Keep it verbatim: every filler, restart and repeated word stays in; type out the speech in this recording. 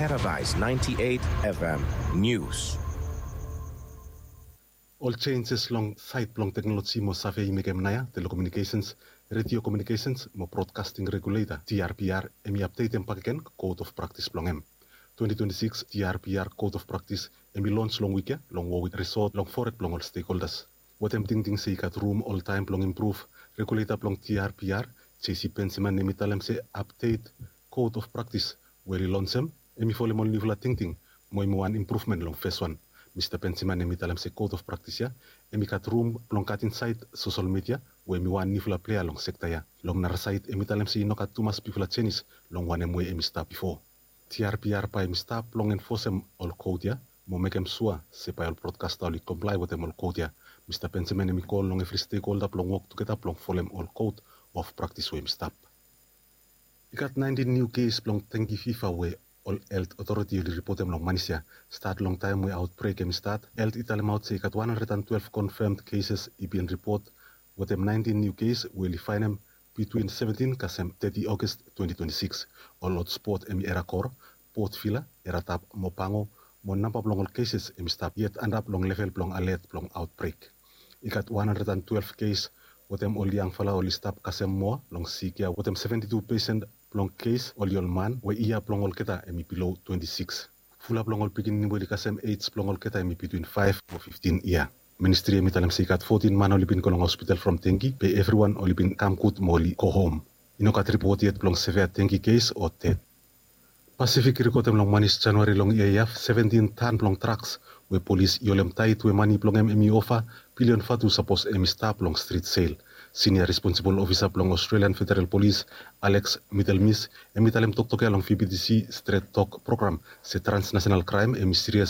Paradise ninety-eight F M News. Ol jenjes long saed blong teknoloji mo save i mekem naoia telekomunikesens, redio komunikesens mo brodkasting regulator, T R P R, hemi apdetem bakegen code of practice blong hem. Twenty twenty-six T R P R code of practice hemi lons long wik ya long Warwick Resort long fored blong ol stakeholders. Wetem tingting se i gat rum oltaem blong impruv, regulator blong T R P R, J C Benjamin, hemi talem se apdet code of practice we oli lonsem hemi folem ol niufala tingting mo hemi wan impruvmen long feswan. Mista Benjamin hemi talem se code of practice ya hemi gat rum blong gat insaed sosel midia we hemi wan niufala plea long sekta ya. Long nara saed hemi talem se i no gat tumas bigfala jenis long wanem we hemi stap bifo. T R P R bae hemi stap blong enfosem ol kod ya mo mekem sua se bae ol brodkasta oli komplae wetem ol kod ya. Mista Benjamin hemi kol long evri stekholda blong wok tugeta blong folem ol code of practice we hemi stap. I gat naentin niu kes blong dengue fever we ol health authority oli ripotem long Manis ya. Stat long taem we outbreak hemi stat, health i talemaot se i gat wan handred and twelve confirmed cases i bin ripot, wetem naentin niu kes we oli faenem bitwin seventin kasem teti August twenty twenty-six. Ol hotspot hemi Era Kor, Port Vila, Era Tap mo Pango, mo namba blong ol cases hemi stap yet antap long level blong alert blong outbreak. I gat wan handred and twelve kes wetem ol yangfala oli stap kasem moa long sik ya, wetem seventy-two pesen blong kes oli ol man we yia blong olgeta hemi bilo twenty-six. Fulap long ol pikinini we oli kasem ej blong olgeta hemi bitwin faef mo fiftin yia. Ministri hemi talem se i gat fotin man oli bin go long hospital from dengue, be evriwan oli bin kam gud mo oli go hom. I no gat ripot yet blong sevea dengue kes o ded. Pasifik i rekodem long Manis Januari long yia ya seventin tan blong draks we polis i holem taet we mane blong hem hemi ova bilion vatu sapos hemi stap long strit sel. Sinia responsibol ofisa blong Australian Federal Polis, Alex Middlemis, hemi talem toktok ya long V B T C Stret Tok program se transnasenal kraem hemi sirias